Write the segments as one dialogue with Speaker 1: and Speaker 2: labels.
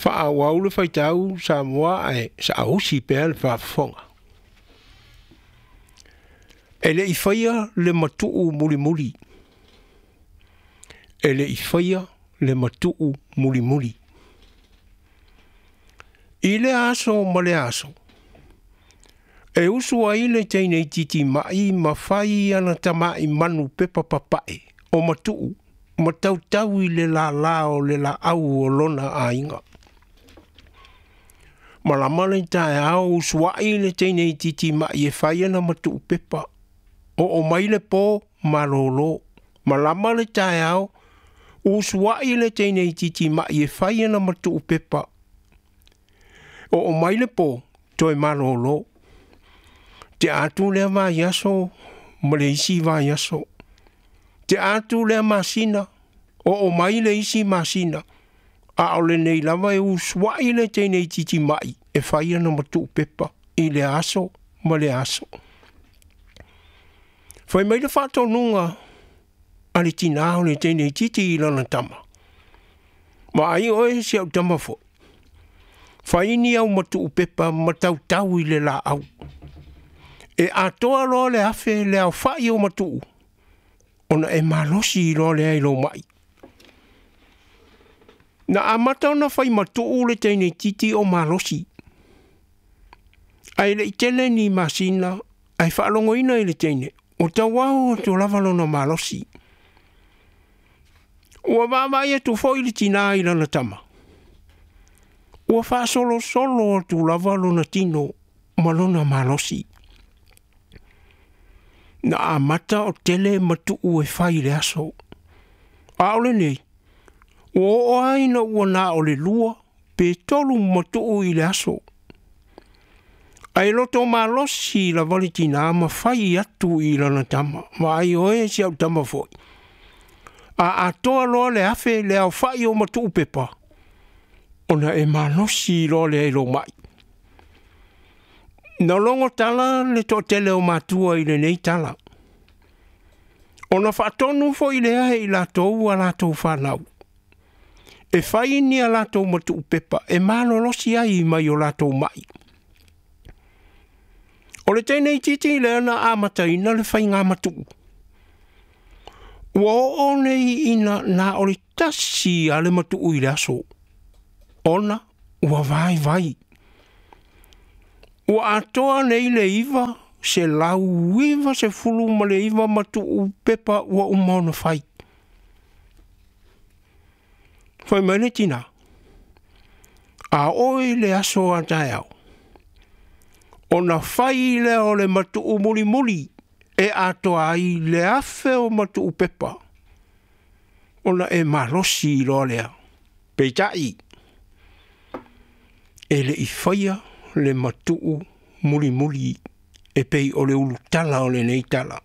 Speaker 1: Faaauau le faitau Samoa ae saausi pea le faafofoga. E le i faia le matuu mulimuli. E le i faia le matuu mulimuli. I lea aso ma lea aso, e usu ai le teine itiiti ma'i ma fai ana tama'i manu pepa papae o matuu ma tautau i le lālā o le laau o lona aiga. Malama le taeao usua'i le teine itiiti ma'i e fai ana matuu pepa. Oo mai le pō malōlō. Malama le taeao usua'i le teine itiiti ma'i e fai ana matuu pepa. Oo mai le pō toe malōlō. Tea atu lea vaiaso ma le isi vaiaso. Tea atu lea masina, oo mai le isi masina, a o lenei lava e usua'i le teine itiiti ma'i e fai ana matuu pepa i lea aso ma lea aso. Fai mai le faatonuga a le tinā o le teine itiiti i lana tama, Vaai oe si au tama foi, fai ni au matuu pepa ma tautau i le laau. E atoa loa le 1,000 le aofa'i o matuu, ona e malosi loa lea i lou ma'i. Na amata ona fai matuu le teine itiiti o malosi. Ae le i tele ni masina ae faalogoina i le teine, ua tauau atu lava lona malosi. Ua vaavaai atu foi le tinā i lana tama, ua faasolosolo atu lava lona tino ma lona malosi. Na amata o tele matuu e fai i le aso. A o lenei, ua oo lava ina ua na o le 2 pe 3 matuu i le aso. Ae loto malosi lava le tinā ma fai atu i lana tama, Vaai oe si au tama foi, a atoa loa le 1,000 le aofa'i o matuu pepa, ona e malosi loa lea i lou ma'i. Na logo tala le toatele o matua i lenei tala. Ona faatonu foi lea e i latou a latou fanau, e fai ni a latou matuu pepa e malolosi ai mai o latou ma'i. O le teine itiiti lea na amataina le faiga matuu. Ua oo nei ina na o le 1 a le matuu i le aso, ona ua vaivai. Ua atoa nei le 999 matuu pepa ua uma ona fai. Fai mai le tinā, a oo i le aso a taeao, ona fai lea o le matuu mulimuli e atoa ai le 1,000 o matuu pepa, ona e malosi loa lea. Peitai, e le i faia le matuu mulimuli e pei o le ulutala o lenei tala.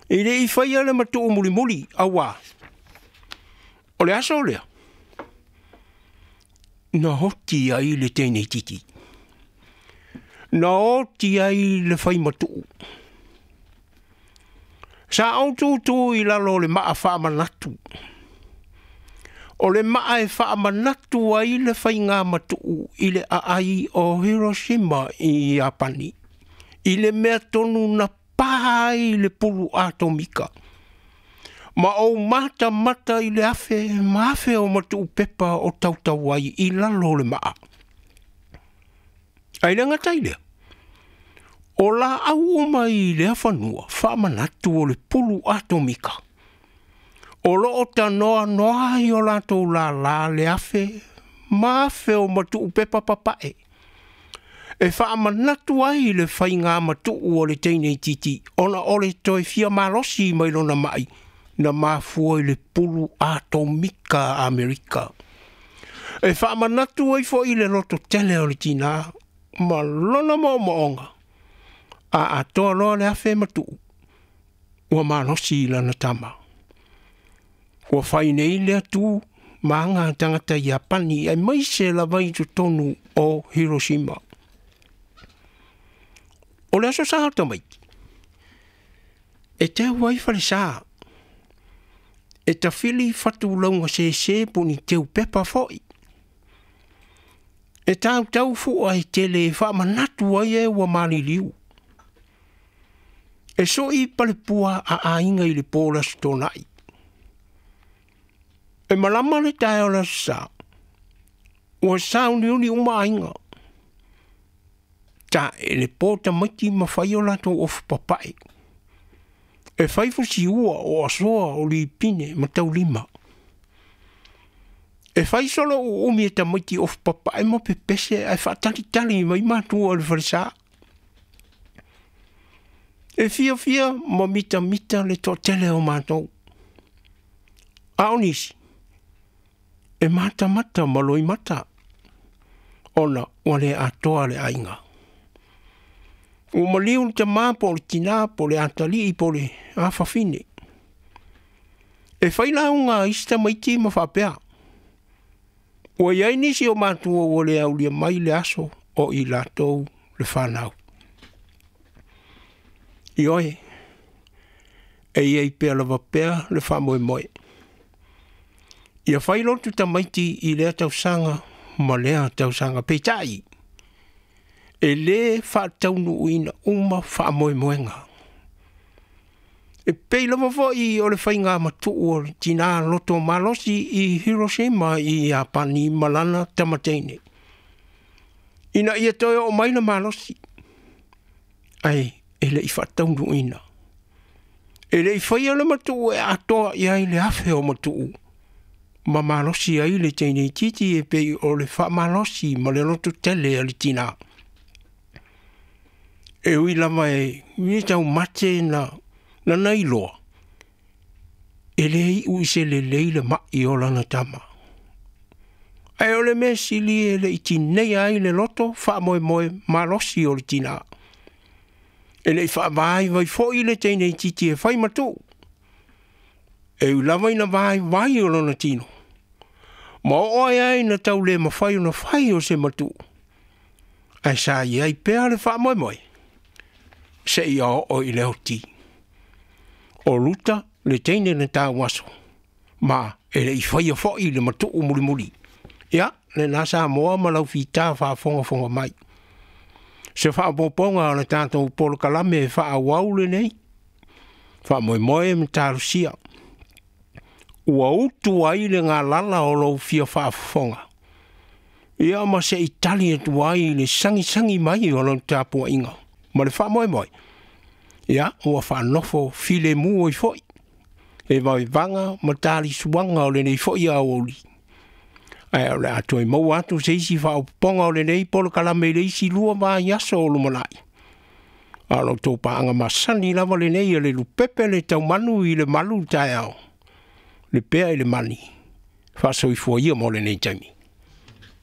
Speaker 1: E le i faia le matuu mulimuli, auā, o le aso lea, na oti ai le teine itiiti. Na oti ai le fai matuu. Sa ou tūtū i lalo o le maa faamanatu. O le maa e faamanatu ai le faiga matuu i le aai o Hiroshima i Iapani, i le mea tonu na pā ai le pulu atomika. Ma ou matamata i le 1,000 ma 1,000 o matuu pepa o tautau ai i lalo o le maa. Ae le gata i lea, o laau uma i lea fanua faamanatu o le pulu atomika. O loo tanoanoa ai o latou lālā le 1,000 ma 1,000 o matuu pepa papae. E faamanatu ai le faiga matuu o le teine itiiti, ona o le toe fia malosi mai lona ma'i na mafua i le pulu atomika a Amerika. E faamanatu ai foi le loto tele o le tinā ma lona moomooga, a atoa loa le 1,000 matuu, ua malosi lana tama. Ua fai nei le atu ma aga tagata Iapani aemaise lava i totonu o Hiroshima. O le aso Sa o tamaiti, e teu ai falesā, e tafili fatulauga sēsē po o ni teupepa foi. E tautau fua e tele e faamanatu ai e ua maliliu. E soi palepua a aiga i le po o le Aso Toonai. E malama le taeao o le Aso Sa, ua sauniuni uma aiga. Ta'e le po tamaiti ma fai o latou ofu papae. E fai fusiua o asoa o lipine ma taulima. E fai solo uumi e tamaiti ofu papae ma pepese ae faatalitali mai matua i le falesa. E fiafia ma mitamita le toatele o matou. A o nisi, e matamata ma loimata, ona ua le atoa le aiga. Ua maliu le tamā po o le tinā po o le atalii po o le afafine. E fai lauga a isi tamaiti ma faapea, Ua i ai nisi o matua ua le aulia mai le aso o i latou le fanau. Ioe, e i ai pea lava pea le faamoemoe. Ia fai lotu tamaiti i lea tausaga ma lea tausaga. Peitai, e lē faataunuuina uma faamoemoega. E pei lava foi o le faiga matuu o le tinā loto malosi i Hiroshima i Iapani ma lana tamateine, ina ia toe oo mai le malosi, ae e le i faataunuuina. E le i faia le matuu e atoa i ai le 1,000 o matuu, ma malosi ai le teine itiiti e pei o le faamalosi ma le lototele a le tinā. E ui lava e le taumate na na iloa, e le iu i se lelei le mai o lana tama. Ae o le mea sili e le i tineia ai le loto faamoemoe malosi o le tinā. E le i faavaivai foi le teine itiiti e fai matuu. E ui lava ina vaivai o lona tino, ma oo ai ai na tau le mafai ona fai o se matuu, ae sa i ai pea le faamoemoe seia oo i le oti. O Ruta le teine na tauaso, ma e le i faia foi le matuu mulimuli. Ia, lena Samoa ma lau fita faafogafoga mai. Se faaopoopoga o le tatou polokalame e faaauau lenei faamoemoe ma talosia. Ua utu ai le galala o lou fia faafofoga. Ia ma se i tali atu ai i le sagisagi mai o lau tapuaiga ma le faamoemoe. Ia, ua faanofo filemu ai foi e vaevaga ma talisuaga o lenei foi aoauli. Ae o le a toe maua atu se isi faaopoopoga o lenei polokalame i le isi 2 vaiaso o lumanai. A o la outou paaga masani lava lenei a le lupepe le taumanu i le malu taeao, le pea i le mani, faasoifua ia mo lenei taimi.